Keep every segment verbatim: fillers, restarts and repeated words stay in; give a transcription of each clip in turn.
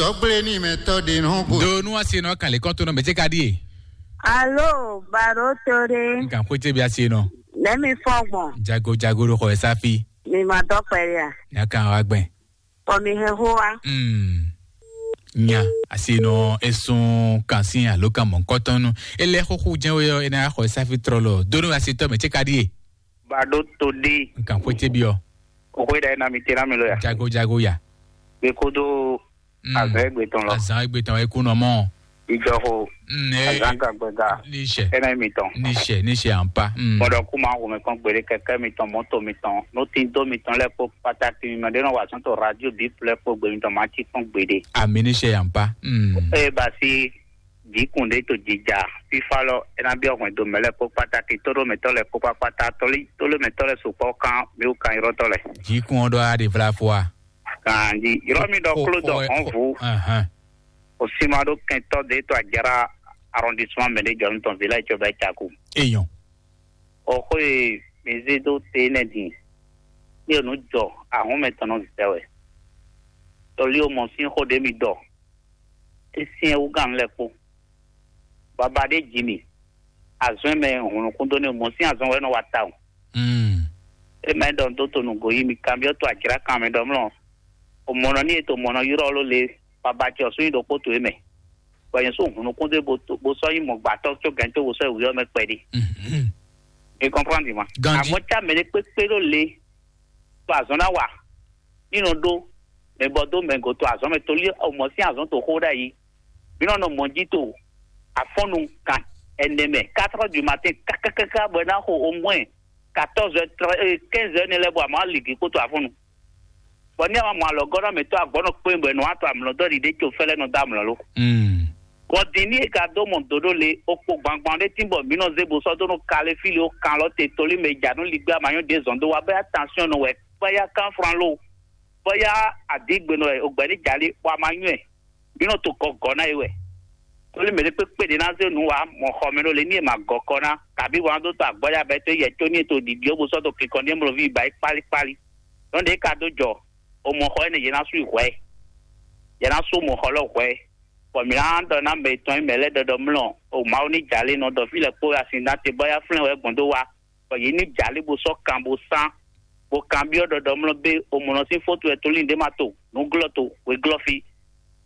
Tɔgble ní mɛ tɔ ɖe nɔ go. Do nú asi nɔ kan lè kɔn tó nɔ mɛ tse ka ɖie. Alo, baro tore. N kan xwé tse bi asi nɔ. Nɛmi fɔ gbɔn. Jago jago ɖo xɔ ɛ safi. Mi ma dɔ kpɛɖe a? Nya kan wa gbɛn. Kɔ mi he ho wa. Hmm. Nya asi nɔ esun kan si alo kan mɔ nkɔtɔn nu. Ele xoxo jɛn we yɔ ena xɔ ɛ safi trɔ lɔ. Do nú asi tɔ mɛ tse ka ɖie. Bado to ɖi. N kan xwé tse bi ɔ. O xwé ɖa ena mi tena mi lo ya. Jago jago ya. Be kodo Mm. Azan egbe tɔn lɔ. Azan egbe tɔn e kú nɔ mɔ. Ijɔxo. Mm, e- Azan gagbɛga. Níṣẹ́. Ɛnɛ mi tɔn. Níṣẹ́ níṣẹ́ à ń pa. Mm. Mɔdɔ kú máa wò mí kán gbére kɛkɛ mi tɔn mɔtò mi tɔn nú tí dó mi tɔn lɛ kpó pàtàkì mi mɛ ɖé nɔ wà sɔn tó radio bí plɛ kpó gbé mi tɔn máa tí kán gbére. Àmì níṣẹ́ à ń pa. Mm. Eye basi jǐkùn ɖé to jija fífá lɔ ena bí ọkùnrin do mɛ lɛ kpó pàtàkì tó ɖó mɛtɔ lɛ kpó pàtà tóló mɛtɔ lɛ sopɔ kan mi wú kan irɔtɔ lɛ. Jǐkùn ɔ́ ɖɔ á ɖe vlá fó a. Ganji, yɔrɔ mi ɖɔ klo dɔ hɔn vu. Ahan. O sima ɖo kɛntɔ de to ajara arrondissement mɛ de jɔ nutɔn village tso bɛ caku. Eyɔn. O xo ye mi zi do te nɛ din. Ni o nu jɔ ahun mɛ tɔn nɔ zɛ wɛ. Tɔli o mɔ sin xo de mi dɔ. E sin e wugan lɛ kpo. Baba de ji mi. Azɔn mɛ hun nukún dó ne o mɔ sin azɔn wɛ nɔ wa ta o. Mm. E mɛ ɖɔ dó to nǔgbó yí mi kanbyɔ́ to ajra kan mɛ ɖɔ mlɔ. O mɔnɔ ní e to mɔnɔ yrɔ ló le baba ce ɔsún yi ɖokpó to e mɛ. Bɔ yẹn sún hun nukún dé bo to- bo sɔ yi mɔ gbàtɔ tso gɛn tó bo sɔ yi wuyɔ mɛ kpɛɖi. Mhm. E kɔnprɔn di ma. Ganji. Àmọ́ tá mɛ ɖé kpékpé ló le. To azɔn ná wa. Nínú ɖó mɛ bɔ dó mɛ go to azɔn mɛ tolí o mɔ sín azɔn to xó ɖ'ayǐ. Mí nɔ nɔ mɔ jí to afɔ́nnu kan ɛnɛ mɛ quatre heures du matin kákákáká bɔ é ná xo au moins quatorze heures, quinze heures ne lɛ́ bɔ a ma ligi kpótó afɔ́nnu. Bɔ ní a ma mɔ alɔgɔ́ ná mɛ tó agbɔ́ nɔ kpé bɔ è nɔ wá to amlɔ dɔ́ ɖiɖe tso fɛ́lɛ́ nɔ dó amlɔ lo. Mm. Bɔ din ní e ka dó mɔ dǒ ɖó le, o kpo gbangban ɖé tín bɔ mǐ nɔ zé bo sɔ́ dó nú kalé fí le ó kan lɔ te tolí mɛ ja nú ligbé amanyɔ ɖě zɔn dó wá bɔ attention nɔ wɛ, bɔ ya kan fran lo, bɔ ya adǐgbe nɔ wɛ, o gbɛ ní jalí, bɔ a ma nywɛ. Mǐ nɔ to kɔ gɔ̌ ná é wɛ. Tóli mɛ ɖé kpékpé ɖě ná zé nǔ wá mɔ xɔ mɛ ɖó le ní è ma gɔ kɔ ná, kabí wǎn dó to agbɔ́ ɖé abɛ tó yɛ có ní è to ɖiɖi ó bó sɔ́ dó kinkɔn ní mlɔví ba é kpálíkpálí. Nɔ́ ɖě ka dó jɔ, o mɔ xɔ énɛ́ yě ná sú yi hwɛ̌. Yě ná sú mɔ xɔ lɔ hwɛ̌. Bɔ mǐ ná ɖɔ ná mɛ tɔn e mɛ lɛ́ɛ ɖɔɖɔ mlɔ o Mawu ní jalé nɔ ɖɔ fí lɛ́ɛ kpó asin ná te bɔ yá flɛ́n wɛ gbɔn dó wá. Bɔ yě ní jalé bó sɔ́ kan bó sán, bó kanbyɔ́ ɖɔɖɔ mlɔ bé o mɔ nɔ sín fótu wɛ tóli ɖé ma to, nǔglɔ́ to, hweglɔ́ fí.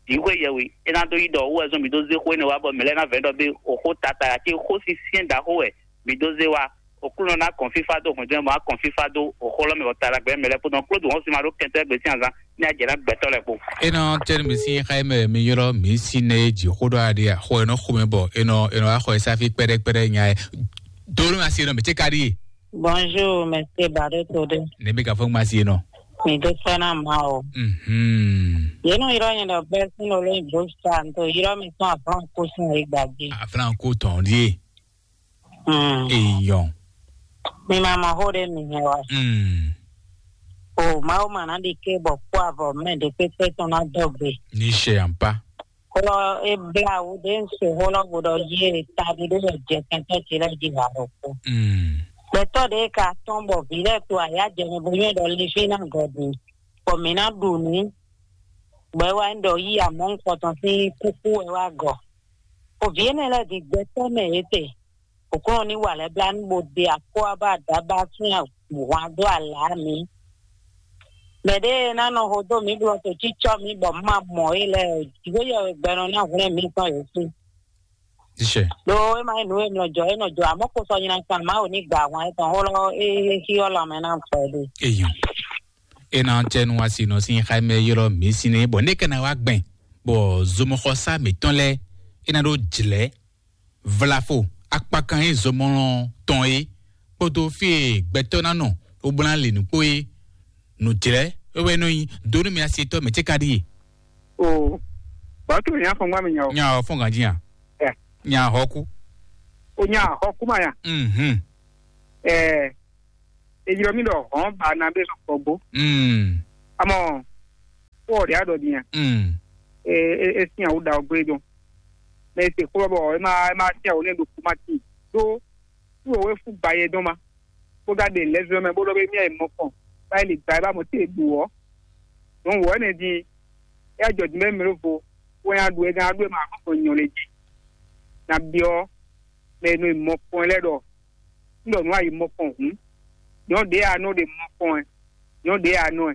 Vǐ xwé yɛhwe, é ná dó yí ɖɔ wú wɛ zɔn mǐ dó zé xó énɛ́ wá bɔ mǐ lɛ́ɛ ná vɛ̌ ɖɔ bé o xó tata ǎ cé xó sín syɛ́n ɖaxó wɛ mǐ dó zé wá. Oklúnɔ ná kɔn fífá dó hwɛ̌ndó mɛ bɔ ná kɔn fífá dó o xó lɔ mɛ bɔ talagbɛ mɛ lɛ́ɛ kpódó klódò wɔ́n sin ma ɖó kɛntɛ́ gbe sín azán ní ajɛ ná gbɛtɔ́ lɛ́ɛ kpó. É nɔ tɛ́ nú mi sín xá mɛ mi ylɔ́ mǐ sí nɛ é jǐ xó ɖɔ aɖe a xó e nɔ xomɛ bɔ é nɔ é nɔ wá xɔ e sáfí kpɛɖɛkpɛɖɛ nya ɛ. Dó nú asi nɔ mǐ cé ka ɖíe. Bonjour, monsieur Badotodo. Ne mi ka fɔ ŋma si nɔ. Mi do fɛn na ma o. Mhm. Ye nɔ yrɔ nyɛ ɖɔ bɛɛ sin lo lóyin bó sa n to yrɔ mi tɔn aflan ko sin yi gbadzi. Aflan ko tɔn ɖie. Mm. Eyɔn. Mi ma mɔ xó ɖé mi hɛn wa. Mm. O Mawu ma ná ɖi ké bɔ kpó avɔ mɛ ɖé pépé tɔn ná dɔgbe. Ni ṣe àǹpá. Xó lɔ é blá wú ɖé ń se xó lɔ gbɔdɔ yí e taɖi ɖé lɛ jɛ kɛntɛ ce lɛ jí wà ɖokpó. Mm. Gbɛtɔ́ ɖé ka tɔn bɔ vǐ lɛ to ayá jɛ mɛ bo nyɔ́ ɖɔ Leví ná gɔ ɖu, bɔ mǐ ná ɖu nǔ, bɔ é wá nyí ɖɔ yí amɔ̌ nukɔntɔn sín kúkú wɛ wá gɔ. Bɔ vǐ énɛ́ lɛ́ɛ bǐ gbɛtɔ́ mɛ yě te, Òkúnɔ ní wa lɛ́ blá nú bó ɖe akwába ɖaba sín hwan dó alǎ mǐ. Mɛ ɖé e ná nɔ hodó mǐ ɖo to cícɔ́ mǐ bɔ má mɔ é lɛ́ɛ, jǐxwé yɛ wɛ gbɛnɔ ná hwlɛ́n mǐ tɔn yě sí. Iṣẹ́. Ɖó é má nyí nǔ e nɔ jɔ é nɔ jɔ àmọ́ kó sɔ nyina kan Mawu ní gbà hwan étɔn xó lɔ é xí ɔ́ lanmɛ ná fɛ ɖe. Eyɔn. É ná tɛ nu asi nɔ sín xá mɛ ylɔ́ mǐ sín é bɔ né kɛ ná wá gbɛn bɔ zomɔxɔsá mǐtɔn lɛ́ɛ é ná ɖó jlɛ̌ vlafo akpakan e zɔmɔlɔ tɔn é kpódó fí e gbɛtɔ́ ná nɔ wóbúná le nǔ kpó é. Nǔjlɛ́ é wɛ nɔ nyi dó nú mɛ asietɔ́ mɛ cé ka ɖíe. O batu nya fɔn gba mi nya o. Nya o fɔn ganji ya. Nya hɔku. O nya hɔku ma ya. Mhm. Ɛ ejirɔ mi ɖɔ hɔn ba na be sɔ kpɔgbo. Mm. Amɔ kó ɔdi adɔ dinya. Mm. E e e sin awu da ogbe dɔn. Mɛ ese kó bɔ e ma e ma sin awu ne do kuma ti do tu owe fu ba ye dɔn ma. Kó ga de lɛzɔ mɛ bó dɔ be mi ayi mɔ kɔn ba yi le gba e ba mɔ te du wɔ. Donc wɔ ne di É wá jɔ din bɔ mɛ ɖó vo, wɛ nyi aɖu e gán aɖu e ma aɖu ko nyɔ lé jí. Na byɔ́ mɛ e nɔ yi mɔkpɔn lɛ́ɛ ɖɔ, un ɖɔ nǔ a yi mɔkpɔn hǔn, nyɔ̌ ɖě a nɔ ɖe mɔkpɔn ɛ, nyɔ̌ ɖě a nɔ ɛ.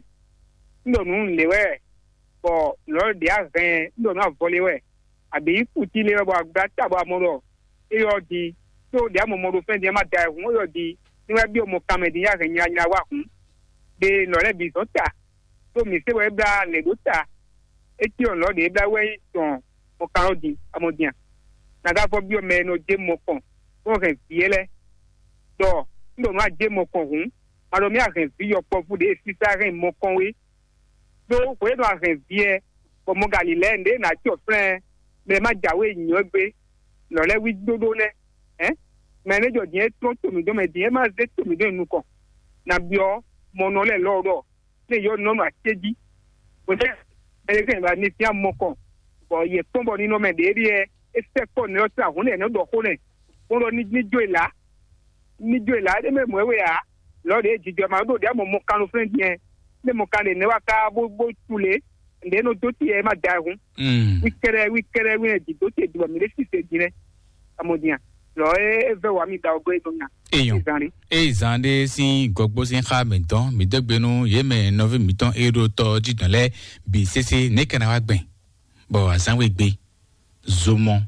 Un ɖɔ nǔ lě wɛ, bɔ lɔ̌ ɖě a hɛn ɛ, un ɖɔ nǔ avɔ lé wɛ, abǐ kutí lé wɛ, bɔ agbá ta bɔ a mɔ ɖɔ é yɔ di, tó ɖě a mɔ mɔ ɖo fɛ́n din ɛ má da ɛ hǔn, é yɔ di, ní wɛ byɔ́ mɔ kanmɛ din yá hɛn nyanya wá hǔn. Ɖe lɔ̌ lɛ́ɛ bǐ zɔn ta, ɖó mǐ se bɔ é blá lɛ̌ ɖó ta. É cyɔ lɔ̌ ɖě blá wɛ nyí tɔn mɔkanlɔ́ din amɔdin a? Nǎ ka fɔ byɔ́ mɛ e nɔ jé mɔkɔn bó hɛn vǐ é lɛ́ɛ, ɖɔ un ɖo nǔ a jé mɔkɔn hǔn, ma ɖɔ mì a hɛn vǐ yɔkpɔ́vú ɖě e sísá hɛn mɔkɔn wé. Ɖó hwě e nɔ a hɛn vǐ ɛ, bɔ mɔ galilɛ́ɛ ɖě ná cyɔ flɛ́n mɛ e má jǎwe nyɔ̌ gbé, lɔ̌ lɛ́ɛ wí dóɖó nɛ́. Hɛ̌n, mɛ e nɔ jɔ din é tlɔ́n to mǐ dɔn mɛ din é má zé to mǐ dɔn nyi nukɔn. Nǎ byɔ́ mɔnɔ lɛ́ɛ lɔ ɖɔ lé yɔ nɔ nɔ acéjí. Bɔtɛ ɛlɛsɛn ba ní fia mɔkɔn, bɔ yɛ kpɔn bɔ ní nɔ mɛ ɖě ɖíɛ é sɛ kpɔ nɛ ɔ́ sá hún lɛ nɔ ɖɔ xó nɛ, bó ɖɔ ní ní jó ìlà, ní jó ìlà é mɛ mɔ ɛ wɛ ǎ. Lɔ ɖě jijɔ ma ɖo ɖě mɔ mɔ kan ló flɛ́n diɛ, ní mɔ kan ɖě nɛ wá ká bó bó tu lě, ɖě nɔ dó ti ɛ má da ɛ hún. Mm. Wí kɛɖɛ wí kɛɖɛ wí nɛ jǐ dó te jǐ bɔ mǐ ɖé sise jǐ nɛ. Amɔdin a? Lɔ é é vɛ wá mi da ɔgɔ é nɔ nya. Eyɔn. Zan ɖé. Eye zan ɖé sín gɔgbó sín xá mǐtɔn mǐ dó gbe nú yě mɛ nɔví mǐtɔn e ɖo tɔ jí dɔn lɛ́ɛ bǐ sésé nɛ̌ ka ná wá gbɛn, bɔ azǎn we gbe, zomɔ,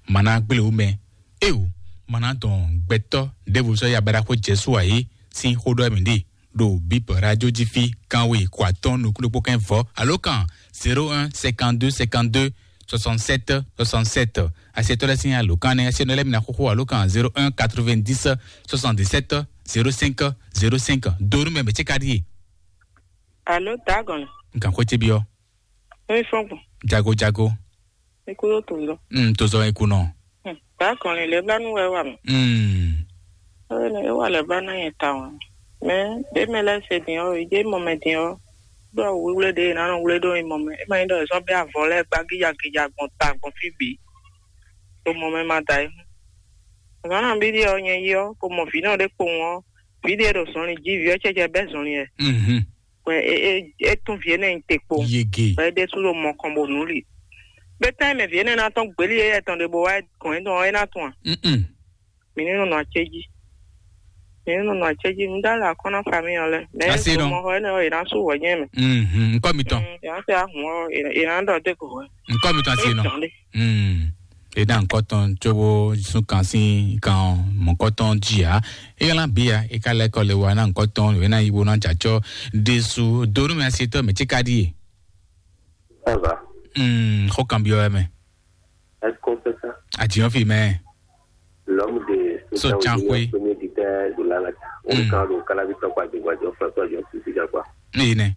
ma ná gblé wú mɛ. Eo, ma ná dɔn gbɛtɔ́ ɖěvo sɔ́ ya baɖaxó Jezu ǎ é sín xó ɖɔ mǐ ɖe ɖo Bíbɔ Radio jí fí, kanwe kɔ atɔ́ɔ́n nukúnɖokpó kɛ́n vɔ̌ alo kan zéro un cinquante-deux cinquante-deux soixante-sept soixante-sept. Asiɛtɔ́ lɛ́ɛ sín alǒkan nɛ́, asiɛnɔ lɛ́ɛ mi ná xóxó alǒkan zéro un quatre-vingt-dix soixante-dix-sept zéro cinq zéro cinq. Donu mɛ mɛ ce ka ɖíe. Alo, dagɔn. Nkan xwé ce byɔ́. Emi fɔn gbɔn. Jago jago. Ikú yóò tó lọ. Mm, tó zɔ ikú nɔ. Bákan ni lè bá nú wɛ wà mí. Mm. Ẹ ní wà lè bá náà yẹn ta wọn. Mɛ bẹ́ẹ̀ mɛ lẹ́sẹ̀ dín ọ́, ìdí mọ̀ mẹ́ dín ọ́. Ɖó awu wíwlé ɖé nánú wlé ɖó mɔ mɛ. É ma nyí ɖɔ zɔ́n bɛ́ avɔ lɛ́ɛ gbá gíjagíja gbɔn ta gbɔn fí bǐ. Ɖó mɔ mɛ ma da é hún. Zǎn nabí ɖíe ɔ́ nyɛ yi ɔ́, ko mɔ vǐ nɔ ɖé kpowun ɔ́, vǐ ɖíe ɖo zɔnlin jí, vǐ ɔ́ cɛ́cɛ bɛ́ zɔnlin ɛ. Mhm. Wɛ é é é tún vǐ énɛ́ nyi te kpo. Yege. Wɛ é ɖésú ɖo mɔ kɔn bó nǔ li. Bɛ́ tán mɛ vǐ énɛ́ ná tɔ́n gbělí éyɛ́ tɔn ɖé bó wá gɔn é dɔn ɔ́, é ná tún a? Mm-mm. Mǐ ní nɔ nɔ acéjí. Mǐ ní nɔ nɔ acéjí. Un dá lɛ akɔ́ ná famille ɔ́ lɛ́ɛ. Mɛ Asi ɖɔ. Mɔ xɔ énɛ́ ɔ́, è nǎ sú wɛ̌ nyɛ mɛ. Mhm. Ŋkɔ mitɔn. Mm, è nǎ tɛ ahun ɔ́, è è nǎ ɖɔ dé ko hwɛ. Ŋkɔ mitɔn asi nɔ. Dɔn ɖé. Mm. E ná ŋkɔ tɔn tsobo sun kan sín kan mɔ̌kɔtɔn jí ǎ. E ylá bǐ ǎ, e ka lɛ́ kɔ le wa ná ŋkɔ tɔn, e ná yi wo ná jacɔ ɖésú. Donu mɛ asi tɔ mɛ tí ka ɖíe. Ça va? Mm, xɔ kan byɔ mɛ. Est-ce qu'on fait ça? Àjìyàn fi mɛ. L'homme de So Total Chan Junior, Kwe. Premier dictateur de la Lata. Mm. On kan do kalabi tɔkwa de gwa jɔ fɛ tɔ jɔ sisi jɔ kwa. Ní yìí nɛ.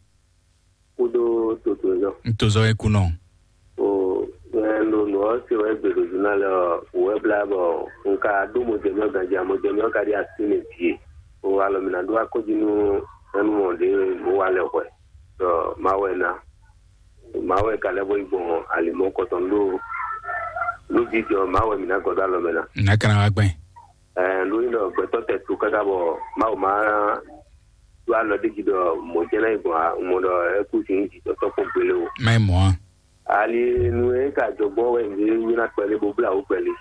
Kúdó toto jɔ. N tó zɔ eku nɔ. O, ɛ, no nɔ se wɛ gbe do journal ɔ wɛ bla bɔ nka do mo jɛ mi ɔ ganji mo jɛ mi ɔ ka di asi ne die. O alɔ mi na do akɔji nu ɛnu mɔ de mo wa lɛ hwɛ. Dɔ ma wɛ na. Mawu wɛ ka lɛ́ bó yi gbɔn alimɔ̌ kɔtɔn ɖó nú vǐ jɔ Mawu wɛ mǐ ná gɔ́ dó alɔ mɛ ná. Nǎ ka ná wá gbɛn. Ɛɛ, nú nyí ɖɔ gbɛtɔ́ tɛ tu káká bɔ Mawu má ɖó alɔ ɖé jí ɖɔ mɔ̌ jɛ́n ná yi gbɔn a, un mɔ ɖɔ é kú sin jǐjɔtɔ́ kpɔ́n gbélé o. Má yi mɔ̌ a? Ali nu e ka jɔ gbɔn wɛ nǔ e nyí ná kpɛlé bó blá wǔ kpɛlé.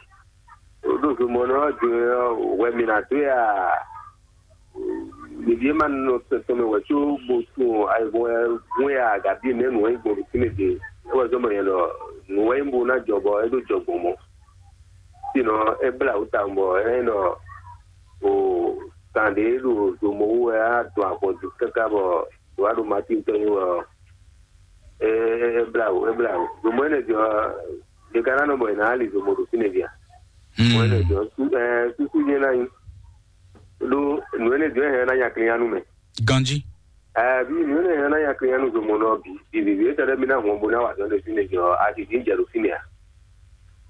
Ɖo zomɔnɔ ɔ́ din ɔ́, hwɛ mǐ ná dó ya. Ɖevi e ma nɔ tɛn tɔn mɛ wɛ có bó tún ayihún wɛ hún ya agaví nɛ̌ nǔ wɛ nyí gbɔn ɖo fínɛ́ din. É wɛ zɔ́n bɔ nyɛ ɖɔ nǔ wɛ nyí bó ná jɔ bɔ é ɖó jɔ gbɔn mɔ̌. Sinɔ é blá wǔ tawun bɔ é nɔ o kan ɖě ɖo zomɔ wú wɛ á dɔn avɔ dó káká bɔ wá ɖo Matín tɔn nyi wɛ ɔ́, é é blá wǔ, é blá wǔ. Zomɔ énɛ́ din ɔ́, ɖe ka ná nɔ bɔ è nǎ li zomɔ ɖo fínɛ́ din a? Mɔ énɛ́ din ɔ́, sú- ɛɛ, súsú nyɛ ná nyí. Ɖó nǔ énɛ́ din ɔ́ hɛn ná nya klin nú mɛ. Ganjí. Ɛɛ, bí nǔ énɛ́ hɛn ná nya klin nú zomɔ nɔ bǐ. Bǐbí é tɛɖɛ́ mi ná hɔn bó ná wa dɔn ɖe fínɛ́ din ɔ́, a sì dín jɛ ɖo fínɛ́ a?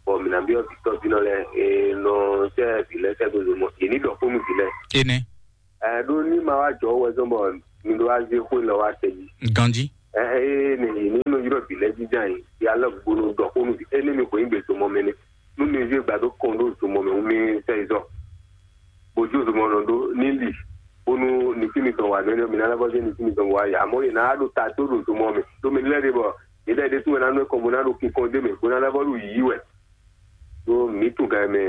Bɔ mǐ ná byɔ́ vǐ tɔ́ vǐ nɔ lɛ́ɛ, è nɔ sɛ́ vǐ lɛ́ɛ sɛ́ dó zomɔ. È ní ɖɔ xó nú vǐ lɛ́ɛ. Énɛ́. Ɛ ɖó ní ma wá jɔ wɛ zɔn bɔ mi ɖó wá zé xó lɔ wá tɛ jí. Ganjí. Ɛ ɛ ní ní nɔ yrɔ vǐ lɛ́ɛ jínjɔ́n ayǐ. Ya lɔ gbónú ɖɔ xó nú vǐ. Énɛ́ mi xweyín gbe zomɔ mɛ nɛ. Nú mi zé gbadó kɔn ɖó zomɔ mɛ, mi sɛ yi zɔ. Bó jó zomɔ nɔ ɖó ní li. Bónú nukí mitɔn wà nɛ́nɛ́, mi ná lɛ́ vɔ́ zé nukí mitɔn wá yi. Amɔ̌ yě ná ɖo ta tó ɖo zomɔ mɛ. Ɖó mi lɛ́ ɖe bɔ Yě ɖɔ ɖésú wɛ ná nú ɛ kɔn bó ná ɖo kinkɔn d'é mɛ, bó ná ná vɔ́ ɖo yǐyí wɛ. Ɖó mǐ tunwun gan mɛ,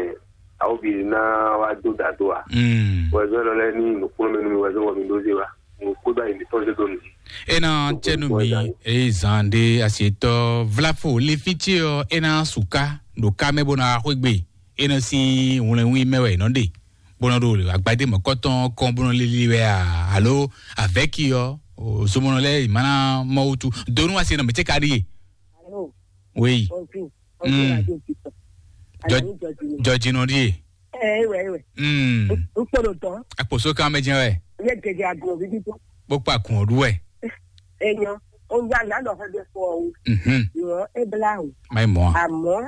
awo bǐ ná wá dó dǎ dó a? Mm. Wɛzɔ́ lɔ lɛ́ɛ ní nǔkplɔ́nmɛ nú mi wɛzɔ́ wɔ mi ɖó zé wá. Mo kpódó ayi mǐtɔn zé dó nǔ jí. Ena cɛnu mi, eye zan ɖe asietɔ vlafo le fitse ɔ, ena suka ɖo ká mɛ bó ná xwé gbe. Ena sín wlɛnwí mɛ wɛ nɔ ɖe, bó nɔ ɖo agbadé mɔ̌kɔtɔn kɔn bó nɔ lili wɛ a, alo avɛki ɔ, zomɔnɔ lɛ mana mɔ wutu. Donu asi nɔ mɛ tse ka ɖi ye. Alo, oui. Bonjour. Bonjour, mm. Radio Victor. Jɔ- Alani Jɔjinɔ. Jɔjinɔ ɖi ye. Ɛ wɛ wɛ. Mm. N kpɔɖo dɔn. Akposo kan mɛ jɛn wɛ. N yɛ gɛgɛ agbo vivi tó. Kpokpo akun ɔɖu wɛ. Enyɔ, n gba nǎ ɖɔ xɔ ɖe fɔ o. Mhm. Nyɔ e bla o. Mayi mɔ. Àmọ́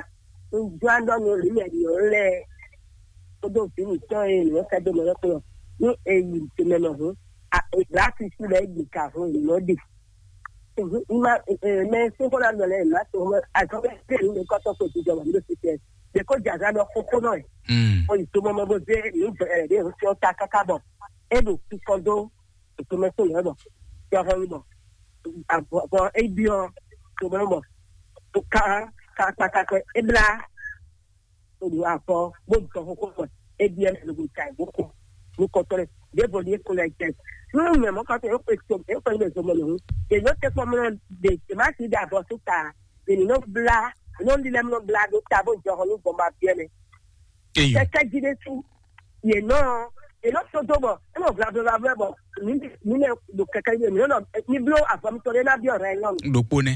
n gbá ɖɔ nu lǐlẹ̀ yɔ lɛ kódó vǐ mǐtɔn e nǔ kɛ dó mɛ lɛ́ kplɔ́. Ní èyí tèmɛ nɔ hǔn, a ègbà sisi lɛ gbè ka hǔn lɔ ɖe. Ìmá mɛ sín xó ná nɔ lɛ ìmá tó mɛ azɔn bɛ tẹ ní kɔtɔ kò jijɔ wà ní ló ti tẹ. Ɖe kó jaza ɖɔ xóxó nɔ ɛ. Mm. Ó yi tó mɔmɔ bó zé ní bẹ̀rẹ̀ ɖé ń sọ ta káká bọ̀. É ɖo kíkọ́ dó ètò mɛ tó lɛ bọ̀. Yọ hɔn bọ̀. Bọ̀ é byɔ tó mɛ bọ̀. Ká ká kpákpá é blá. Oɖu afɔ bó dɔ xóxó mɔ ebi ɛmɛ ló ta ìbò kó ní kɔtɔ rẹ ɖěvo ní ekó lɛ jẹ. Nínú mɛ mɔ kɔtɔ yóò pè tó yóò pè ní zomɔ lòun. Yèyó tẹ kpɔ mọ de tèmá ti dà bɔ tó ta ènì nɔ bla ènì nɔ lílẹ̀ nɔ bla ɖó ta bó jɔ xɔ ní gbɔn ma biɛ mɛ. Eyɔ. Kɛkɛ jí ɖé sú yè nɔ yè nɔ tó dó bɔ é nɔ bla bla bla bɔ ní ní lɛ ɖo kɛkɛ jí mi nɔ ní bló avɔ mi tɔ ɖé ná biɔ rɛ nyɔnu. Ɖokpo nɛ.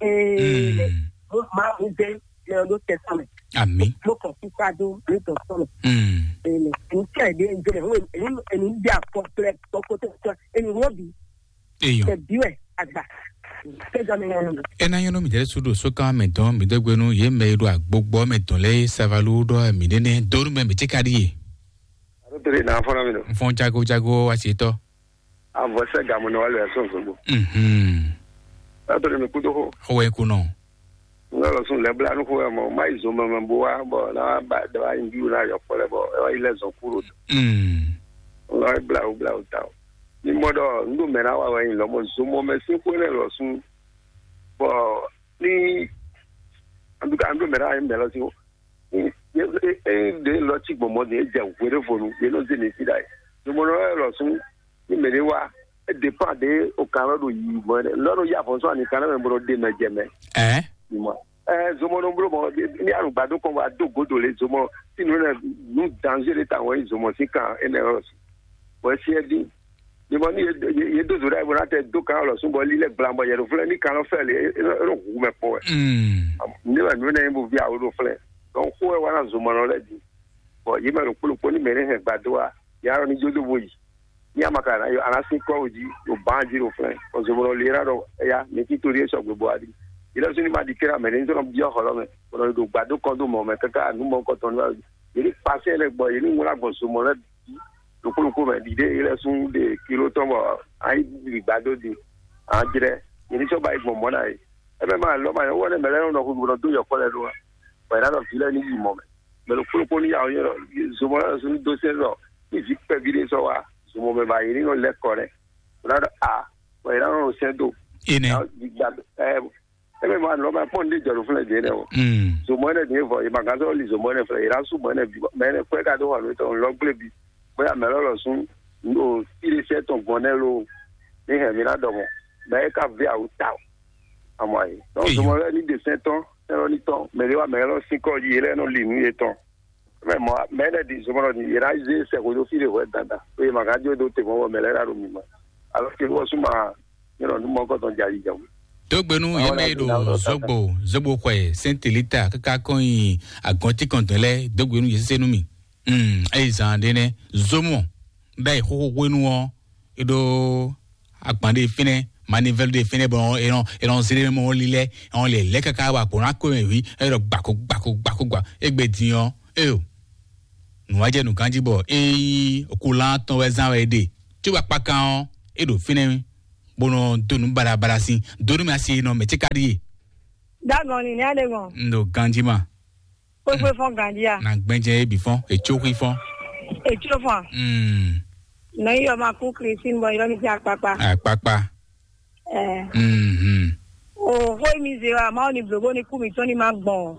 Ee. Mm. Mo ma mo dé lɛ ɖó tɛ sɔmɛ. Ami. Mo kàn fún fado ní tɔ sọ̀rọ̀. Mm. Èmi ń tẹ̀ dé ń jẹrẹ wọ́n èmi èmi ń bí àpọ̀ pẹ̀lẹ́ tọkọtaya èmi wọ́n bí. Eyɔn. Tẹ̀ bí wẹ̀ àgbà. Kẹjọ mi yẹn nù. Ena yɔn mi jẹ sudo sokan mɛ dɔn mi dɔgbenu ye mɛ do agbogbo mɛ dɔn lɛ savalu dɔ mi nene donu mɛ mi ti ka di ye. Alo tele na fɔlɔ mi do. N fɔn jago jago asetɔ. Avɔ sɛ gamu na wale ɛsɔn zogbo. Mhm. Alo tele mi kudo ho. Xɔ wɛ kunɔ. N lɔ sún lɛ bla nu xo wɛ mɔ ma yi zomɛ mɛ bo wa bɔ na ba da wa yi ju na yɔ kpɔ lɛ bɔ e wa yi lɛ zɔn kuro. Mm. N lɔ bla wo bla wo ta o. Ni mɔ dɔ n do mɛ na wa wɛ yin lɔ mɔ zomɔ mɛ sin xo ne lɔ sún. Bɔ ni an do ka an do mɛ na wa yin mɛ lɔ sin o. Ni e e de lɔ ti gbɔn mɔ de e jɛ wele fonu ye no de ne ti da yi. Zomɔ lɔ lɔ sún ní mɛ ɖé wá, é dépend ɖé o kan lɔ ɖo yi mɔ lɔ ɖo yi afɔsɔ ani kan lɛ mɛ bɔ ɖe mɛ jɛ mɛ. Ɛ. Mɔ ɛ zomɔ nɔ blo mɔ ní alùgbàdo kɔn wa do godo le zomɔ tí nu ne nu danger ɖe ta wɔn yi zomɔ sí kan é nɛ lɔ sí. Bɔ é sí é dín. Ní mɔ ní ye do zo ɖe bɔ n'a tɛ do kan lɔ sún bɔ lílɛ gblan bɔ yɛ ɖo flɛ ní kan lɔ fɛ le é nɔ hu mɛ kpɔ wɛ. Mm. Ní wɛ nu ne bo vi awo ɖo flɛ. Donc xó wɛ wa na zomɔ nɔ lɛ di. Bɔ yi mɛ ɖo kpolokpo ní mɛ ne hɛn gbado wa ya lɔ ní jó do bo yi. Ní a ma ka na yɔ ana sín kɔ wò jí ɖo ban jí ɖo flɛn ɔzɔmɔlɔ lera ɖɔ eya mɛ tí torí esɔ gbogbo adi ilé sún ní ma di kéré amɛ ní tɔnɔ biɔ xɔlɔ mɛ bɔnɔ ɖo gbado kɔn do mɔ mɛ kaka nu mɔ kɔtɔn ní wàlú yìí ní kpasẹ lɛ gbɔ yìí ní ŋlá gbɔn zomɔ lɛ bí lókòlókò mɛ ɖiɖe ilé sún de kilo tɔn bɔ ayi bi gbado di an jrɛ yìí ní sɔ ba yi gbɔn mɔ na yi ɛmɛ ma lɔ ma yɔ wɔ ne mɛ lɛ nɔ xu gbɔdɔ do yɔkɔ lɛ do wa bɔ yìí nɔ vi lɛ ní yi mɔ mɛ mɛ lókòlókò ní yà wɔ yɔ zomɔ lɛ sún do sɛ lɔ ní vi kpɛvi ɖé sɔ wa zomɔ mɛ ba yìí ní nɔ lɛ kɔ rɛ wòlá ɖɔ a wɔ yìí nɔ sɛ do Ene. Gbigba ɛ ɛmɛ ma nɔ ma kpɔn ní jɔ ɖo fúnlẹ̀ dé nɛ o Mm. Zomɔ ɛnɛ dé vɔ yìí ma gán sɔ li zomɔ ɛnɛ fúnlẹ̀ yìí rá sún mɔ ɛnɛ bi mɛ ɛnɛ kɔɛ ka dó wà lóyún tɔn lɔ gblé bi bóyá mɛ lɔ lɔ sún o tílé sɛ tɔn gbɔn nɛ lo ní hɛn mi ná dɔ mɔ mɛ ɛ ká vé awu ta o àmọ́ yìí donc Eyɔ. Zomɔ lɛ ní de sɛ tɔn ɛlɔ ní tɔn mɛ lé wa mɛ lɔ sín kɔ yìí lɛ nɔ li nú yé tɔn mɛ mɔ mɛ lɛ di zomɔ lɔ ní yé ná zé sɛ ko dó fí lè hwɛ dandan pé ma gán jó dó te mɔ bɔ mɛ lɛ ná ɖo mi mɔ alors que wɔ suma yɛlɛ nu mɔ kɔtɔn jali jam Dogbenu Awo yeme na do na na zogbo zogbo xwe sentilita kaka kɔnyi agɔnti kɔntɔn lɛ dogbenu yesese nu mi. Mm, eyi zan de ne zomo bɛ xoxo xwenu ɔ eɖo agban ɖe fínɛ manivɛlu ɖe fínɛ bɔ enɔ enɔ zele mɔ lilɛ enɔ lɛ lɛ kaka wa kpɔn akɔ mɛ wi eɖɔ gbako gbako gbako gba egbe din ɔ eyo nùwájɛ nùgánjí bɔ eyi okulán tɔn wɛ zán wɛ ɖe tí wàá kpakan ɔ eɖo fínɛ bó nɔ dó nú baɖabaɖa sín dó nú mɛ asi nɔ mɛ tí ka ɖíe. Dagɔn ni ní alé ŋɔ. N ɖo ganjí ma. Kpékpé fɔn ganjí a. Na gbɛnjɛ ebi fɔn etsó xí fɔn. Etsó fɔn. Mm. Nɔ yi yɔ ma kú Christine bɔ yɔ mi ti akpakpa. Akpakpa. Ɛ. Mm-hmm. O xó e mi zé wa, Mawu ni blǒ bó ní kú mǐtɔn ní ma gbɔn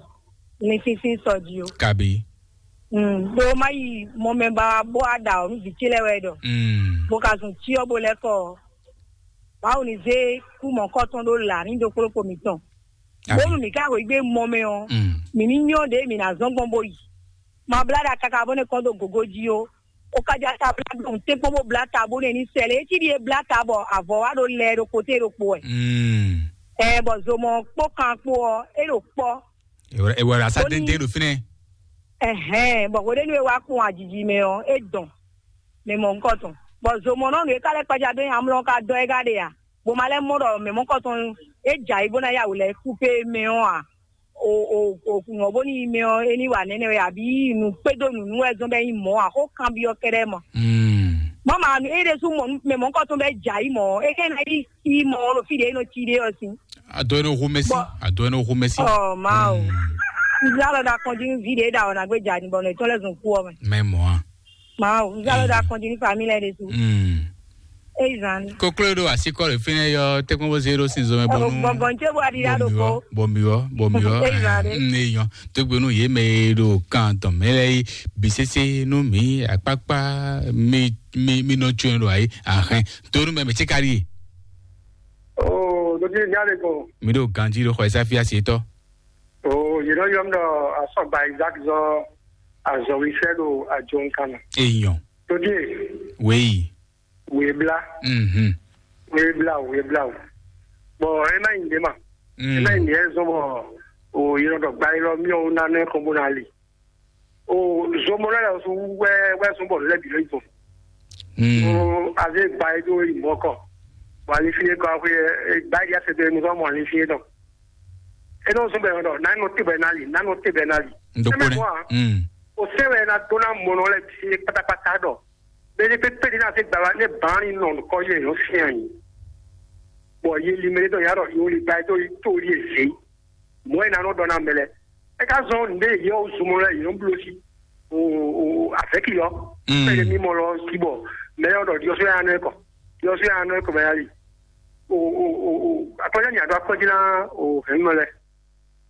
linfínfín sɔ jí o. Kabi. Mm, ɖó má yi mɔ mɛ ba bó wá ɖa o, nú vǐ ce lɛ́ɛ wɛ ɖɔ. Mm. Bó ka zun cyɔ bó lɛ́ kɔ ɔ, Mawu ni zé kú mɔ̌kɔtɔn ɖó là ní ɖokpóɖokpó mǐtɔn. Bónú mǐ ka xweyǐgbe mɔ mɛ ɔ, mǐ ní nyɔ́ ɖě mǐ ná zɔ́n gbɔn bó yi. Ma blá ɖa káká bó nɛ́ kɔn dó gǒgó jí ó. O ka ja ta blá gbɔn tɛ́nkpɔ́n bó blá ta bó nɛ́ ní sɛ lě. É cí ɖíe blá ta bɔ avɔ wá ɖo lɛ ɖo koté ɖokpo wɛ. Ɛ bɔ zomɔ kpó kan kpó ɔ, é ɖo kpɔ́. Ewɛ ewɛ la sa Ó ní- dende ɖo fínɛ. Ɛhɛn, bɔ hweɖénu e wá kpɔn ajiji mɛ ɔ, é dɔn mɛ mɔ ŋkɔ tɔn. Bɔ zomɔ nɔ nǔ e ka lɛ́ kpaja dó nyi amlɔ ka dɔ é ka ɖe a? Bó ma lɛ́ mɔ ɖɔ mɛ mɔ̌kɔtɔn e jɛ ayǐ bó ná yá wǔ lɛ́ɛ kúpe mɛ ɔ́ ǎ. O o o ŋɔ̌ bónú yi mɛ ɔ́, é ní wa nɛ́nɛ́ wɛ, abǐ nǔ kpédó nǔnú wɛ zɔ́n bɔ é nyí mɔ̌ ǎ, xó kanbyɔ́ kɛ́ɖɛ́ mɔ. Máma é ɖésú mɔ nú mɛ mɔ̌kɔtɔn bɔ é jɛ ayǐ mɔ̌ ɔ́, é ká ná yi yi mɔ ɔ́ ɖo fí ɖě é nɔ cí ɖé ɔ́ sín. Adó é nɔ hu mɛsí. Bɔ- Adó é nɔ hu mɛsí. Ɔ Mawu, nzá lɔ ɖo akɔn jí nú ví ɖě é ɖo awɔ ná gbé jɛ ani bɔ nɔ ètò lɛ́ zɔn kú ɔ́ mɛ. Mɛ mɔ̌ a. Mawu, nzá lɔ ɖo akɔn jí nú família ɖé sú. Mm. Eyi zan ni. Koklo ɖo asikɔ ɖe fínɛ yɔ tɛkpɔn bó zé ɖo sin zɔmɛ bɔnu. Gbɔgbɔn tse bó aɖi ɖo ko. Bɔmiwɔ bɔmiwɔ. Eyi zan ɖe. Mm, eyɔn. Tógbénu yé mɛ e ɖo kan tɔn mɛ lɛ yi bisese nú mi akpakpa mi mi mi nɔ tso ɖo ayi ahɛn. Tónu mɛ mɛ tse ka ɖi. Oo, ɖo ɖi nya ɖe ko. Mi ɖo ganji ɖo xɔ ɛsa fi asi tɔ. Oo, yě nɔ yɔ mí ɖɔ asɔgba Isaac zɔ azɔwísɛ ɖo ajo nkan mɛ. Eyɔn. Ɖo ɖi. Wéyi. Wěblá. Mhm. Wěblá o, wěblá o. Bɔ ẹ má nyi ɖě ma. Ẹ má nyi ɖě zɔn bɔ o yɔrɔ dɔ gba yɔrɔ miɔ wo nanɛ kɔn bó na li. O zomɔ lɛ lɛ su wɛ wɛ zɔn bɔ lɛ bi lɛ zɔn. Mm. O aze gba yi do yi mɔ kɔ. Bɔ ali fi kɔ aƒe gba yi ase do mu zɔn mɔ ali fi dɔ. E nɔ zɔn bɛ dɔ na nɔ te bɛ na li, na nɔ te bɛ na li. Ndo kpɔnɛ. Mm. O se wɛ na do na mɔ nɔ lɛ bi kpatakpata dɔ. Bɛ́ ní pépé ní ná zé gbala ní bǎn ní nɔ nukɔn yé yǒ fían yìí. Bɔ yé li mɛ ní dɔ yǎ ɖɔ yǒ li gba tó tó yé zé. Mɔ̌ é ná nɔ ɖɔ ná mɛ lɛ. É ká zɔn nǔɖé yě ɔ́ zumɔ lɛ yě nɔ bló sí. O o o avɛ̌ki ɔ́. Pɛ́lɛ mímɔ lɔ sí bɔ mɛ ɔ́ ɖɔ ɖiɔsó yá nɔ ɛ kɔ. Ɖiɔsó yá nɔ ɛ kɔ mɛ yá li. O o o o akɔjá ní àdó akɔjí ná o hɛ̌nnɔ lɛ.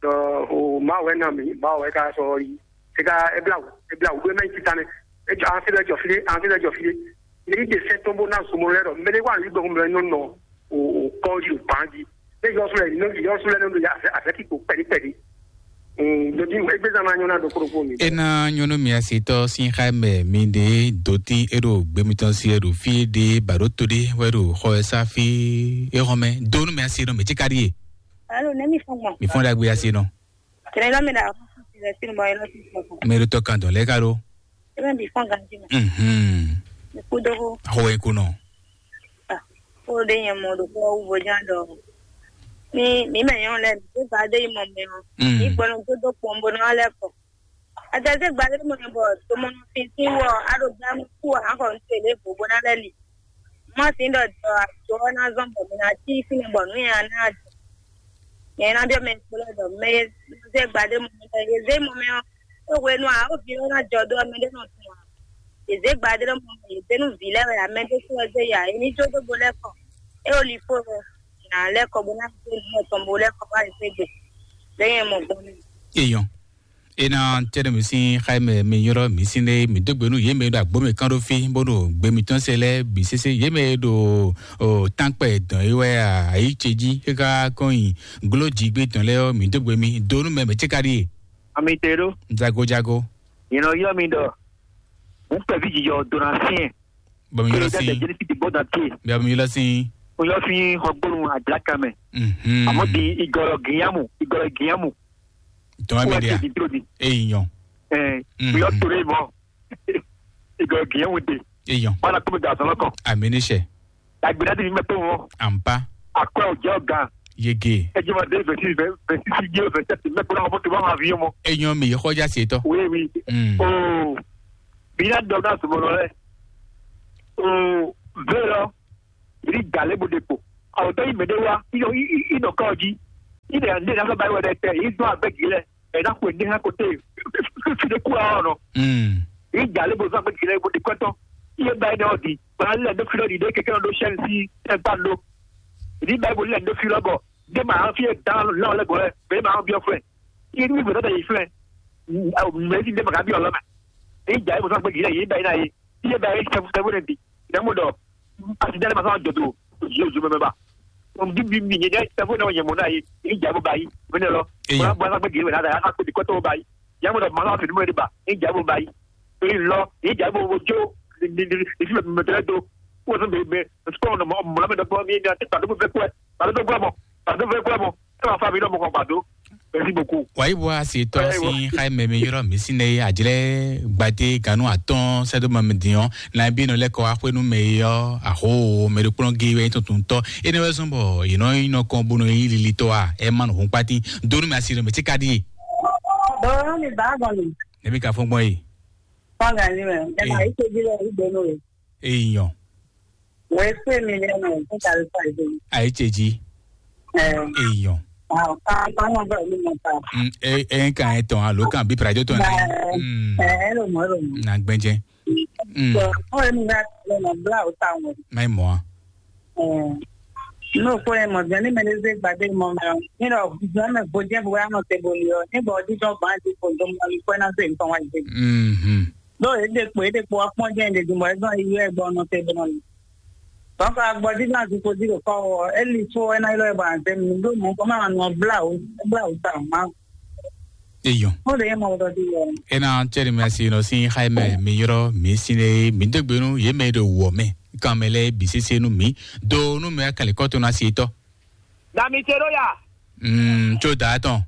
Ɖɔ o Mawu wɛ ná mǐ, Mawu wɛ ka sɔ yi. É ka é bla wǔ, é bla wǔ ɖó é mɛ nyí titane. É jɔ ansi lɛ jɔ fí ɖé, ansi lɛ jɔ fí ɖé. Ní ɖe sɛ́ tɔn bó ná zomɔ lɛ ɖɔ mɛ ɖé wà ní gbɛ́ mɛ nɔ nɔ o o kɔ yi o ban jí. É yɔ sɔlɛ ní yɔ sɔlɛ ní ɖo ya afɛ afɛ kí kpo kpɛɖí kpɛɖí. Ɖo tí é gbé zan ná nyɔ ná ɖo kórópó mi. E na nyɔnu mi asitɔ sin xa mɛ mi ɖe doti e ɖo gbemi tɔn si e ɖo fi ɖe ba ɖo to ɖe wɛ ɖo xɔ ɛ sa fi e xɔ mɛ donu mi asi ɖo mi tsi ka ɖi e. Alo, ne mi fɔn gbɔn. Mi fɔn ɖagbe asi nɔ. Kɛnɛ lɔ mi ɖa. Mɛ ɖo tɔ kan dɔn lɛ ka ɖo. Ebe bi fɔn ganji mɛ. Mhm. Mi ku dogo. Xɔ e ko nɔ. Ah, ko de nyɛ mɔ ɖo kɔ wu bo jan dɔ. Mi mi mɛ nyɔ lɛ mi ba de yi mɔ mɛ o. Mm. Mi gbɔnɔ do do kpɔn bo na lɛ kɔ. Ata se gba de mɔ bɔ to mɔ fi ti wɔ a ɖo gba mu ku a kɔ n tele bo bo na lɛ li. Má sí ɖɔ jɔ àjọ ɔ́ ná zɔ́n bɔ mi ná cí fínɛ́ bɔ nǔ nyaná ná jɔ. Nyɛ ná biɔ mɛ kplɔ́ ɖɔ mɛ e zé gbadé mɔ mɛ e zé mɔ mɛ ɔ́, é hwenu ǎ, ó vi ɔ́ ná jɔ ɖó ɔ́, mɛ ɖé nɔ tunwun ǎ. È zé gbadé ɖɔ mɔ mɛ, è zé nú vǐ lɛ́ɛ wɛ ǎ, mɛ ɖé kún wɛ zé ya, è ní jó dó bo lɛ́ kɔ. É ó li fó wɛ, nǎ lɛ́ kɔ bó ná zé nǔ mɔtɔn bó lɛ́ kɔ wá yi xwé gbe. Lɛ́ nyɛ mɔ gbɔn mɛ. Eyɔn. Ena tɛnɛ mi sin xayi mɛ mi ylɔ mi sin ɖe mi dó gbe nú yě mɛ ɖo agbo mɛ kán ɖó fí bó ɖo gbe mitɔn se lɛ bǐ sese yě mɛ ɖo o tankpɛ dɔn yi wɛ ayi ce jí káká kɔn yi glo jí gbé tɔn lɛ ɔ mi dó gbe mi do nú mɛ mɛ ce ka ɖi. Ami te ɖo. Jago jago. Yìnbọn yɔ mi ɖɔ n pɛ vi jijɔ dona fiɛ. Bɔ mi ylɔ sin. Jɛnɛsi ti bɔ da tie. Bia mi ylɔ sin. O yɔ fi xɔ gbonu adlaka mɛ. Mhm. Àmọ́ di igɔlɔ giyamu igɔlɔ giyamu. Tɔn mi dia. Di tro di. Eyi nyɔ. Ɛɛ. Mhm. O yɔ tore mɔ. Igɔlɔ giyamu de. Eyi nyɔ. Wala kɔmi da sɔlɔ kɔ. Amini sɛ. Agbena di mi mɛ to mɔ. Ampa. Akɔ o jɛ o gan. Yege. Ejima de vɛsi vɛsi si jɛ vɛsi mɛ kura mɔ to ma ma vi mɔ. Enyɔ mi yɛ xɔja se tɔ. Oui oui. Mm. Oh. Bi na dɔ na sɔmɔ lɛ. Oh. Ve lɔ. Yi da lé bo ɖe kpo. Awotɔ yi mɛ ɖe wá. Yi nɔ yi yi yi nɔ kɔ jí. Yi ɖe ne na fɛ ba yi wɛ ɖe tɛ. Yi dɔn agbɛ gilɛ. Ɛ na xwe ne hã kote. Fi ɖe ku awɔ nɔ. Mm. Yi da lé bo zɔn agbɛ gilɛ bo ɖe kɔtɔ. Iye ba yi nɔ di. Ba lɛ do fi lɔ di ɖe keke nɔ do sɛn si tɛ gba do. Yi ba yi bo lɛ do fi lɔ bɔ. Dé ma fi e dan lɔ lɛ gɔlɛ, be ma bi flɛ. Ti ni be da yi flɛ. Mɛ si dé ma ka bi lɔ ma. E ja e mo sa gbe gile yi ba yi na yi. Ti e ba yi sɛfu sɛfu ne bi. Na mo dɔ. A si dale ma sa jɔ do. Zo zo mɛ ba. Mo bi bi mi ne sɛfu na yɛ mo na yi. E ja bo ba yi. Mɛ ne lɔ. Eya. Mo ba sa gbe gile na da a ko di ko to ba yi. Ya mo dɔ ma sa fi mo de ba. E ja bo ba yi. E lɔ. E ja bo bo jo. Ni ni ni fi me me do. Ko so be be. Sukɔ nɔ mɔ mɔ mɛ dɔ bɔ mi ni a ti ta do fɛ kɔɛ. Ta do gbɔ mɔ. Ta do fɛ kɔɛ mɔ. Ɛ ma fa mi dɔ mɔ kɔ ba do. Merci beaucoup. Wayi bɔ asi tɔ si xa mɛ mi yɔrɔ mi si ne ajlɛ gbate ganu atɔn sɛdo ma mi diɔn na bi nɔ lɛ kɔ axwenu mɛ yɔ aho mɛ do kplɔn ge wɛ tuntun tɔ ene wɛ zɔn bɔ yinɔ yinɔ kɔn bono yi lili tɔ a ɛ ma nɔ hun kpati donu mi asi nɔ mɛ ti ka di. Dɔwɔrɔ mi ba gɔn mi. Ne bi ka fɔ gbɔn ye. Fanga ni mɛ. Ɛ ma yi te bi lɛ yi donu ye. Eyɔn. Wɛ se mi lɛ mɛ ko ta le fa yi. Ayi ce ji. Ɛ. Eyɔn. Ah, ka ka ma ba ni ma ta. Mm, e e kan e tɔn alo kan bi prajo tɔn na. Mm. Ɛ ɛ lo mo lo mo. Na gbɛnjɛ. Mm. So, o mi na le na bla o ta mo. Mai mo. Ɛ. No ko e mo jani me le ze gbade mo me. Ni lo jani me bo je bo ya mo te bo li o. Ni bo di do ba di ko do mo ni ko na se nton wa je. Mhm. Ɖó e ɖe kpo e ɖe kpo wá kpɔ́n jɛ́n ɖe din bɔ é zɔ́n yi wɛ gbɔ nɔ te ɖe nɔ yi. Dɔnku agbɔdí náà ti ko dí ɖo kɔ́ ɔ́, é li fó é ná ylɔ́ ɛ bɔ àzɛ mi ɖó mɔ̌ kɔ má nɔ blá wǔ blá wǔ ta má. Eyɔn. Ó lè yẹ mɔ wúɖɔ dí yɔ. Ena cɛri mi asi nɔ si xa mɛ mi yɔrɔ mi si ne mi degbe nu ye mɛ ɖo wɔ mɛ kan mɛ lɛ bi sese nu mi do nu mɛ kali kɔtɔ na si tɔ. Dami te ɖo ya. Mm, tso da tɔn.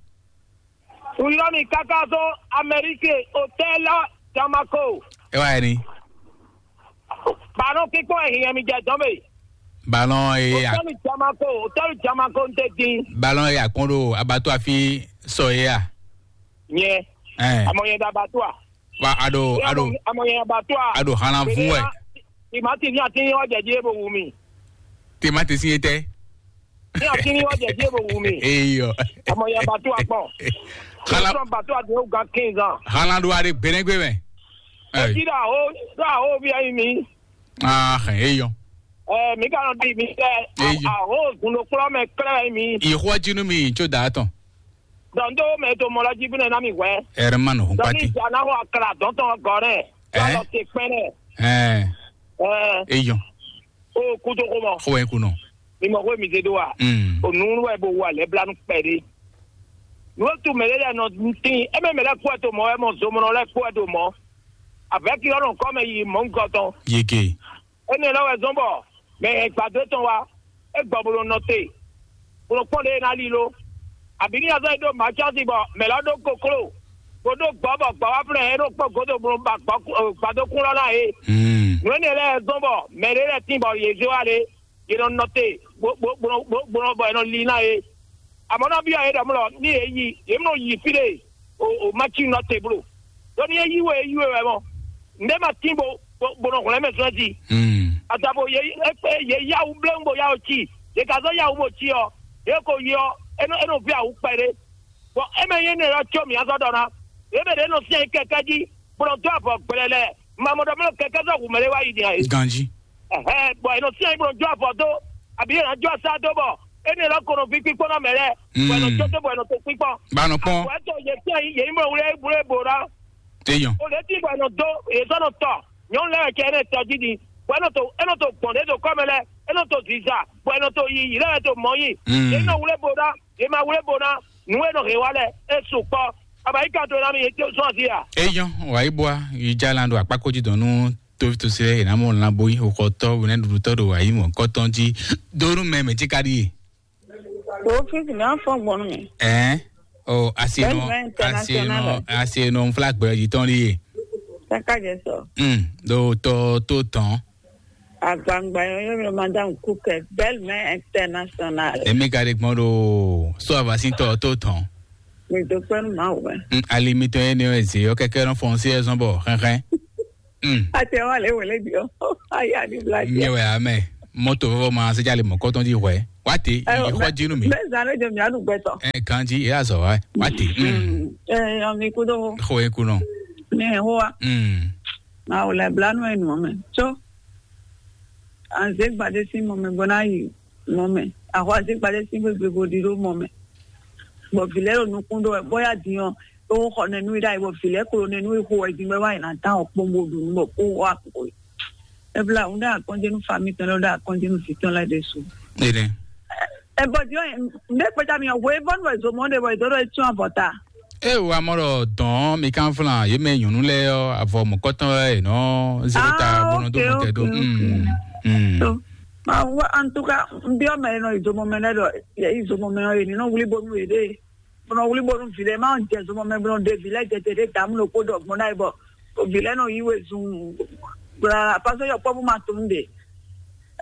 Wuyɔmi kaka zɔn Amérique hôtel Jamako. E wa ni. Ballon kikpɔn e hiɛ mi jɛ dɔn me. Ballon e a. Hôtel Jamako, hôtel Jamako n te din. Ballon e a kpɔn ɖo abattoir fi sɔ ye a. Nyɛ. Ɛn. Amɔ yɛ da abattoir. Wa a ɖo a ɖo. Amɔ yɛ abattoir. A ɖo hana vun wɛ. Timati ni ati ni ɔjɛ di e bo wu mi. Timati si ye tɛ. Ni ati ni ɔjɛ di e bo wu mi. Eyɔ. Amɔ yɛ abattoir kpɔn. Hala. Sɔn abattoir de o gan quinze ans. Hala ɖo a ɖe gbɛnɛgbɛ mɛ. Eti ɖo aho ɖo aho bi ayi mi. Ah, eyɔ. Ɛ mi ka nɔ di mi tɛ. Eyɔ. Aho gundo kplɔ mɛ klɛ mi. Ihwɔ jinu mi tso da tɔn. Dɔn do mɛ to mɔ lɔ ji bi nɛ na mi hwɛ. Ɛrɛ ma nɔ hun Dɔn pati. Ni ja na ho akla dɔn tɔn gɔ nɛ. Ɛ? Alɔ te kpɛn nɛ. Ɛ. Ɛ. Eyɔ. O kudo ko mɔ. Xɔ ɛ kunɔ. Mi mɔ ko mi se do wa. Mm. O nunu wɛ bo wa lɛ blanu kpɛ de. Nuwo tu mɛ lɛ nɔ tin. E mɛ mɛ lɛ kɔ to mɔ, e mɔ zomɔnɔ lɛ kɔ to mɔ. Avec yɔ nɔ kɔ mɛ yi mɔ nkɔ tɔn. Yeke. Énɛ́ lɛ́ wɛ zɔ́n bɔ mɛ e gbadó tɔn wá, é gbɔ bó nɔ nɔ te, bó nɔ kpɔ́n ɖě e ná lílo. Abǐ ní azɔ́ e ɖó mǎcási bɔ mɛ̌ lɔ́ ɖó kokló, bó ɖó gbɔ̌ bɔ gbɔ̌ wá flɛ́ ɛ é nɔ kpɔ́n gǒdo bó nɔ ba gbɔ̌ gbadókún lɔ́ ná é. Nǔ énɛ́ lɛ́ɛ zɔ́n bɔ mɛ ɖé lɛ́ɛ tín bɔ yě zé wá lé, yě nɔ nɔ te, bó bó bó nɔ bó bó nɔ bɔ è nɔ lin ná é. Amɔ̌ ná byɔ́ yě ɖɔ mlɔ ní yě yi, yě mlɔ yi fí ɖé o o má cí nɔ te bló. Ɖó ní é yí we é yí we wɛ mɔ. Nǔɖé ma tín bo bo bo nɔ hwlɛ́n mɛ zɔn jí. Adabo yě yě yá wú bléwún bo yá wú cí. Yě ka zɔ́ yá wú bo cí ɔ́, yě ko yi ɔ́, é nɔ é nɔ ví awǔ kpɛɖé. Bɔn é mɛ nyí énɛ́ ɔ́ có mǐ azɔ́ ɖɔ ná. Yě mɛ ɖě nɔ syɛ́n kɛkɛ́ jí, bó nɔ dó avɔ gblɛlɛ. Mamɔ ɖɔ mlɔ kɛkɛ́ zɔ́ hu mɛɖé wá yi din ǎ é. Ganji. Ɛhɛn, bɔ è nɔ syɛ́n bó nɔ jó avɔ dó, abǐ è nɔ jó asá dó bɔ énɛ́ lɔ ko nɔ ví kpíkpɔ́ ná mɛ lɛ́ɛ, bɔ è nɔ jó dó bɔ è nɔ to kpíkpɔ́n. Ba nɔ kpɔn. Àpò ɛ tó yě syɛ́n yě yí mɔ wlé wlé bò ná. Téyàn. O lě tí bɔ è nɔ dó, yě sɔ́ nɔ tɔ, nyɔ̌nu lɛ́ɛ wɛ cɛ énɛ́ tɔ jí din, bɔ é nɔ to é nɔ to gbɔn ɖě do kɔ́ mɛ lɛ́ɛ, é nɔ to zǐza, bɔ è nɔ to yi yǐ lɛ́ɛ wɛ to mɔ̌ yi. Yě nɔ wlé bò ná, yě ma wlé bò ná, nǔ e nɔ hɛn wá lɛ́ɛ, é su kpɔ́. Aba yí kan to ná mi yě tó sɔ́n azí a? Eyɔn, wàyí bua, yi jalan ɖo akpákó jí dɔn nú tófítɔ́sí lɛ́ɛ, yě ná mɔ lan bó yí xɔxɔtɔ́, wɛnɛ́ɖuɖutɔ́ ɖo ayǐ mɔ̌kɔtɔn jí. Dó nú mɛ mɛ jí ka ɖíe. Tófítɔ́sí mi á fɔ́n gbɔn nú mi. Ɛɛ, o, asi nɔ, Bɛ́ni bɛ asi nɔ, international. Asi nɔ nfla gbɛ jí tɔn ɖíe. Kaka jɛ sɔ. Hmm, ɖo tɔ tó tɔn. Agbangba yɔ yɔ mi madame Kukɛ, belle mère internationale. Èmi ka ɖe gbɔn ɖo so avasintɔ tó tɔn. Mi do kpɛnu ma wɛ. Hmm, ali mitɔn ye ne wɛ ze yɔ kɛkɛ nɔ fɔn si ɛzɔn bɔ xɛxɛ. Hmm. Ate wa le wele bi o. Aya ni bla Nye wɛ amɛ. Moto vɔvɔ ma se jali mɔ kɔtɔn di hwɛ. Wate, yi xɔ jinu mi. Mɛ zan le jɔ mi anu gbɛtɔ. Ɛ kan ji, e azɔ wa. Wate. Hmm. Ɛ yɔ mi kudo. Xɔ e kunɔ. Ne ho wa. Hmm. Ma o le bla nu enu mɛ. So. Anze gbade si mɔ mɛ bona yi mɔ mɛ. Axɔ azígbadé sín xwé gbe bo ɖi ɖó mɔ mɛ. Bɔ vǐ lɛ́ɛ ɖo nukún ɖó wɛ, bɔ yá din ɔ́, é xɔ nɛnú i ɖ'ayǐ, bɔ vǐ lɛ́ɛ klo nɛnú i xo wɛ din bɔ é wá yi ná dán ɔkpɔ́n bó ɖu nǔ bɔ kó wá kpo. Ebla un ɖe akɔnjenu fami tɔn lɛ ɖe akɔnjenu fi tɔn lɛ ɖe su. Ene. Ebɔ diɔ, nde kpeta mi hwe bɔnu wɛ zo mɔ de bɔ ido ɖo etun abɔta. E wa mɔ ɖɔ dɔn mi kan flan ye mɛ nyɔnu lɛ ɔ avɔ mɔkɔtɔn lɛ nɔ zero ta Ah, bɔnɔ do ok, mɔtɛ do. Ok, ok. Mm, mm. So, ma wa, en tout cas, n biɔ mɛ nɔ izo mɔ mɛ lɛ ɖɔ izo mɔ mɛ ɔ ye ni nɔ wuli bonu ye ɖe. Bɔnɔ wuli bonu vi lɛ ma jɛ zɔmɔ mɛ bɔnɔ de vi lɛ jɛ te ɖe damu ɖo kpo ɖɔ gbɔn na yi bɔ vi lɛ nɔ yi we zun gbla parce que yɔkpɔvu ma tun de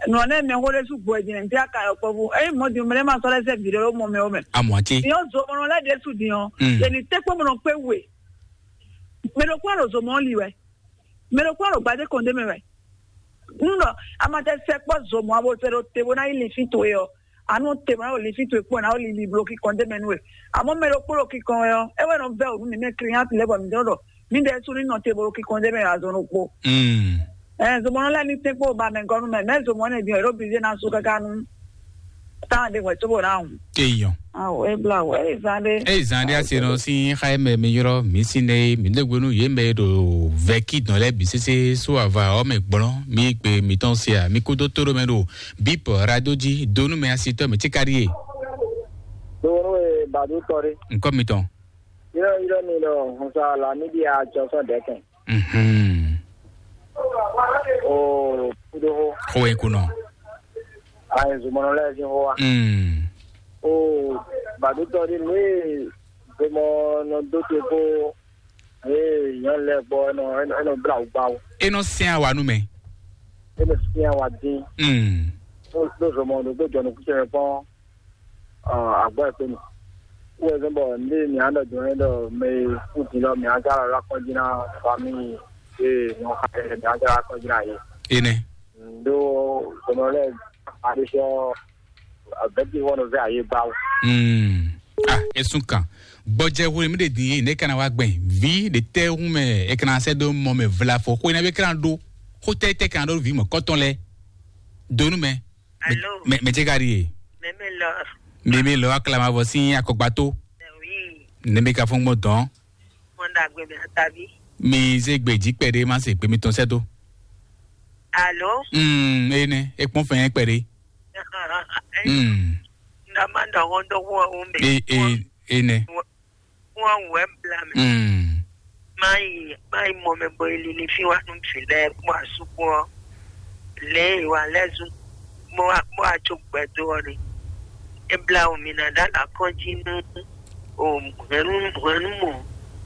nɔ ne mɛ xo ɖe su gbɔ jɛ ne ti aka yɔkpɔvu eyi mɔ di mɛ ma sɔ lɛ sɛ vi ɖe o mɔ mɛ o mɛ Amwati. Yɔ zɔmɔ lɛ de su di yɔ Mm. Yɛni te kpɔ mɔnɔ kpe we mɛ ɖo kpɔ ɖo zɔmɔ li wɛ mɛ ɖo kpɔ ɖo gbadé kɔn de mɛ wɛ nu ɖɔ amatɛ sɛ kpɔ zɔmɔ abo sɛ ɖo te bo na yi li fi to ye ɔ anu te ma ɖo li fi to ye kpɔ na ɖo li li blo kikɔn de mɛ nu we amɔ mɛ ɖo kpɔ ɖo kikɔn wɛ ɔ e wɛ nɔ vɛ o nu mi mɛ kiri ya ti lɛ bɔ mi dɔn ɖɔ mi ɖe su ni nɔ te bo ɖo kikɔn de mɛ azɔn ɖo kpo Mm. Ɛ zɔmɔ lɛ ni te kpɔ ba mɛ gɔnu mɛ mɛ zɔmɔ ne bi ɔ ɖo bi de na su kaka nu tan de wɛ to bo na hu Eyɔn. Awo e bla wɛ e zan de. Eyi zan ɖe ase nɔ si xa mɛ mi yrɔ mi si ne mi ɖe gbenu ye mɛ ɖo vɛki dɔn lɛ bi sese so ava ɔ mɛ gblɔn mi gbe mi tɔn se a mi kudo to ɖo mɛ ɖo bip radio ji donu mɛ asitɔ mi ti ka ɖi ye. Donu e badu tɔ ɖe. Nkɔ mi tɔn. Yrɔ yrɔ mi ɖɔ hunsa la mi ɖi atsɔ sɔ dɛkɛn. Mhm. O kudo ho. Xo e kunɔ. Ayi zumɔnɔ lɛ sin ho wa. Mm. O badutɔ di nu e zomɔ nɔ do te ko e nyɔnu lɛ gbɔ enɔ enɔ bla wugba wo. E nɔ sɛn awa nu mɛ. E nɔ sɛn awa din. Mm. Ɖo zomɔ ɖo gbɔ jɔnu kucɛ mɛ kpɔn. Agbɔ e kpenu. Wo zɔn bɔ nde mi an dɔ jɔn ɖɔ mɛ e kú din lɔ mi an zala la kɔn jí na fami e nyɔ xa mi an zala kɔn jí na ye. Ene. Ndo zɔnɔ lɛ adesɔ abɛti wɔn vɛ aye ba wo. Mm. Ah, esun kan. Gbɔjɛ hwenu mi ɖe din ye ne kana wa gbɛn vi ɖe tɛ hun mɛ e kana sɛ do mɔ mɛ vla fɔ xwe na be kana ɖo xotɛ tɛ kana ɖo vi mɔ kɔtɔn lɛ donu mɛ. Alo. Mɛ mɛ jɛ ka ɖi ye. Mɛmɛ lɔ. Mɛmɛ lɔ aklamavɔ sin akɔgbato. Wi. Ne mi ka fún gbɔn dɔn. Mɔdagbe mi atabi. Mi ze gbe jí kpɛɖe ma se gbe mi tɔn sɛ do. Alo. Mm, ene e kpɔn fɛn kpɛɖe. Mm. Ndama ndɔ wɔn dɔ wɔn o mɛ. E e ene. Wọ́n wɛ̌ bla mɛ. Mm. Má yi má yi mɔ mɛ bɔ è lili fí wá nú vǐ lɛ́ɛ kpó asú kpó ɔ́, lě e è wa lɛ́ zún bó wá bó wá jó gbɛdó ɔ́ ɖe. É blá wǔ mi ná ɖó alǎkɔ́njí nú o hwɛ̌nú hwɛ̌númɔ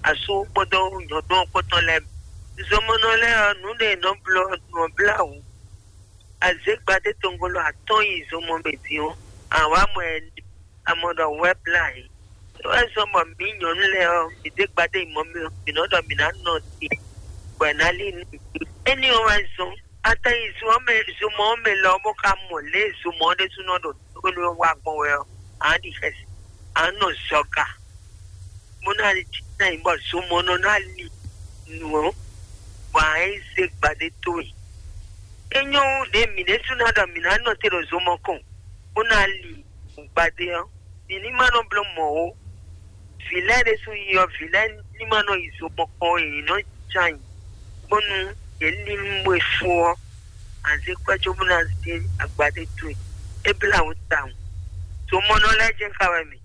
asú kpódó nyɔ̌nu ɔ́ kpótɔ́ lɛ́ɛ bǐ. Zomɔnɔ lɛ́ɛ ɔ́, nǔ ɖé è nɔ bló ɔ́, nǔ ɔ́ blá wǔ. Azě gbadé tɔngolo atɔ́ɔ́n yi zomɔ mɛ din ɔ́, a wǎ mɔ ɛ amɔ ɖɔ wɛ̌ blá yě. É wɛ zɔ́n bɔ mǐ nyɔ̌nu lɛ́ɛ ɔ́, mǐ dé gbadé yi mɔ mɛ ɔ́, mǐ nɔ ɖɔ mǐ ná nɔ te, bɔ è nǎ lí nú mǐ. Énɛ́ ɔ́ wɛ zɔ́n. Atɛn yi zun ɔ́ mɛ, zumɔ ɔ́ mɛ lɔ ɔ́ bó ka mɔ lě e zumɔ ɔ́ ɖésúnɔ ɖo tónú ɔ́ wa gbɔn wɛ ɔ́, a nǎ ɖi xɛsi, a nǎ nɔ zɔga, bó ná ná nyí bɔ zumɔnɔ ná li nǔ ɔ́, bɔ a nǎ yi zé gbadé towe. É nyɔ́ wú ɖě mǐ ɖésú ná ɖɔ mǐ ná nɔ te ɖo zomɔ kɔn, bó ná li gbadé ɔ́, mǐ ní ma nɔ bló mɔ̌ ó. Vǐ lɛ́ɛ ɖésú yi ɔ́, vǐ lɛ́ɛ ní ma nɔ yi zomɔ kpɔ́n ó, yě ní nɔ ján ayǐ, bónú yě ní nú we fó ɔ́, a zé kwɛ́ cóbó ná zé agbadé towe. É blá wǔ tawun. Zomɔnɔ lɛ́ɛ jɛ́n ka wɛ mì,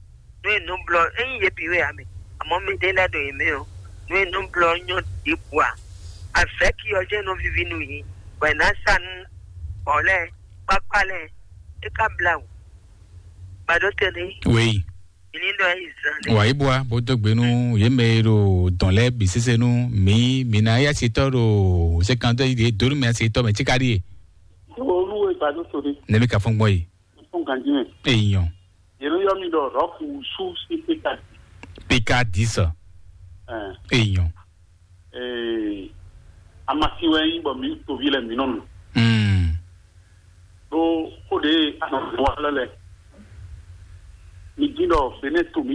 nǔ e nǔ blɔ ényí yě bǐ wɛ ǎ mɛ, amɔ̌ mɛɖé lɛ́ɛ ɖo yě mɛ ɔ́, nǔ e nǔ blɔ ɔ́ nyɔ́ ɖěbǔ ǎ. Avɛ̌ki ɔ́ jɛ́n nɔ víví nú yě, bɔ è nǎ sa nú bɔ̌ lɛ́ɛ, kpákpá lɛ́ɛ, é ka blá wǔ. Gbadó tɛnɛ. Wěyi. Ìní ɖɔ yí zan ɖé. Wà yí bua bó dó gbe nú yě mɛ e ɖo dɔn lɛ́ɛ bǐ sésé nú mǐ mǐ ná yá sitɔ́ ɖo sékantɔ́ yí ɖě dó nú mɛ sitɔ́ mɛ tíká ɖíe. Olúwo ìgbàdo tòde. Nɛmí ka fɔ́n gbɔn yi. Fún gànjí mɛ. Èèyàn. Yẹnu yọ mi ɖɔ rɔku su sí péka. Péka dix. Èèyàn. Ee, amasi wɛ nyí bɔ mǐ toví lɛ mǐ nɔ nu. Mm. Ɖó xó ɖě anɔ wa lɛ lɛ. Mi dín ɖɔ Benɛ to mǐ